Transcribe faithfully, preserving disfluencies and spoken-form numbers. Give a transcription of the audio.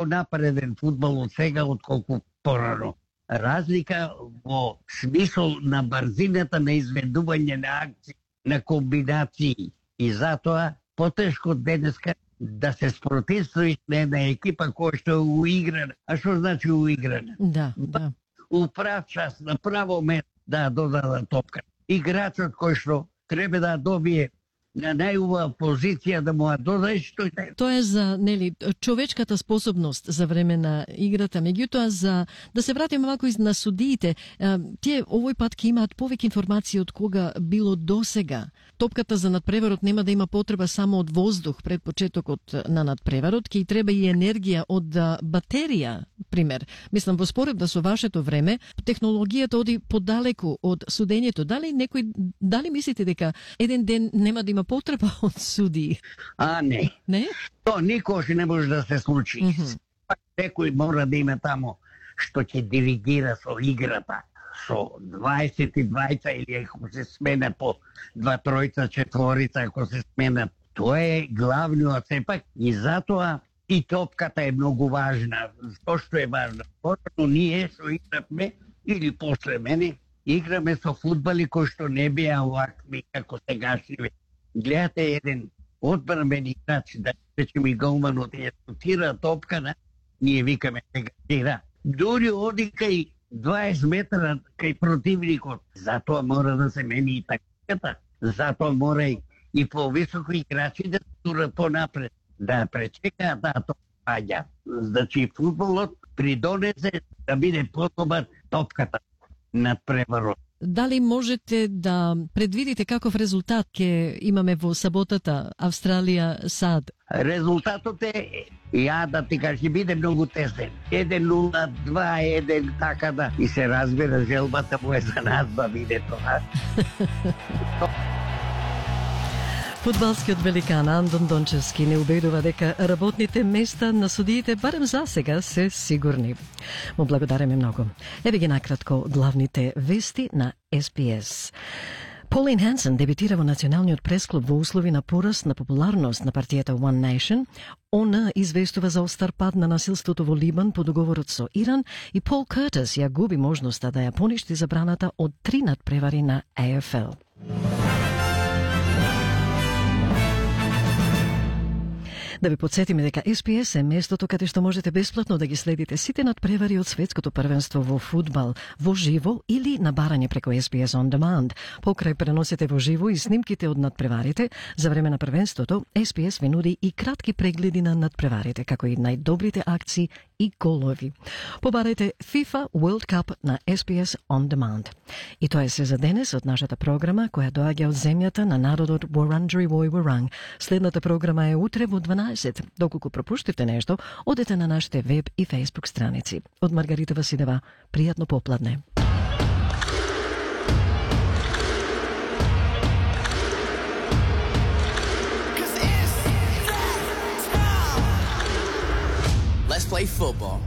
напреден фудбал од сега отколку порано. Разлика во смисол на брзината на изведување на акции, на комбинации. И затоа потешко денеска да се спротивствуваш на една екипа која што е уиграна. А што значи уиграна? Да, да. У прав час, на право место да додаде топка. Играчот кој што треба да добие на најубава позиција да му ја додадеш, тој тај. Тоа е за, нели, човечката способност за време на играта, меѓутоа за да се вратиме малку на судиите, тие овој пат ќе имаат повеќе информации од кога било досега. Топката за надпреварот нема да има потреба само од воздух пред почетокот на надпреварот, ќе и треба и енергија од батерија, пример. Мислам, во споредба со вашето време, технологијата оди подалеку од судењето. Дали некој, дали мислите дека еден ден нема да има потреба од судии? А, не. Не? То никош не може да се случи. Mm -hmm. Некој мора да има тамо што ќе диригира со играта, со дваесет и двајца или ако се смена по два тројца, четворица, ако се смена. Тоа е главниот сепак и затоа и топката е многу важна. Зошто е важна? Порано ние што игравме или после мене играме со фудбали кои што не беа овакви како сегашниве. Гледате еден одбранбен играч да речем и голманот ја шутира топкана, ние викаме сега тира. Дури оди кај дваесет метра кај противникот. Затоа мора да се мени и тактиката. Затоа мора и, и повисоко играчи да турат понапред, да пречекаат да топаѓа. Значи фудбалот придонесе да биде подобар топката над преварот. Дали можете да предвидите каков резултат ќе имаме во саботата Австралија-САД? Резултатот е, ја да ти кажи, биде многу тесен. еден нула, два еден, така да. И се разбира, желбата му е за нас да биде тоа. Фудбалскиот великан Андон Дончевски не убедува дека работните места на судиите барем за сега се сигурни. Му благодариме многу. Еве ги накратко главните вести на Ес Би Ес. Полин Хансен дебитира во Националниот пресклуб во услови на пораст на популарност на партијата One Nation. Она известува за остар пад на насилството во Либан по договорот со Иран и Пол Кертис ја губи можноста да ја поништи забраната од три надпревари на Ей Еф Ел. Да ви подсетиме дека Ес Би Ес е местото каде што можете бесплатно да ги следите сите надпревари од светското првенство во фудбал, во живо или на барање преку Ес Би Ес On Demand. Покрај преносите во живо и снимките од надпреварите, за време на првенството, Ес Би Ес ви нуди и кратки прегледи на надпреварите, како и најдобрите акции и голови. Побарајте FIFA World Cup на Ес Би Ес On Demand. И тоа е се за денес од нашата програма, која доаѓа од земјата на народот Wurundjeri Woi Wurrung. Следната програма е утре во дванаесет. Доколку пропуштите нешто, одете на нашите веб и фејсбук страници. Од Маргарита Василева, пријатно попладне. Let's play football.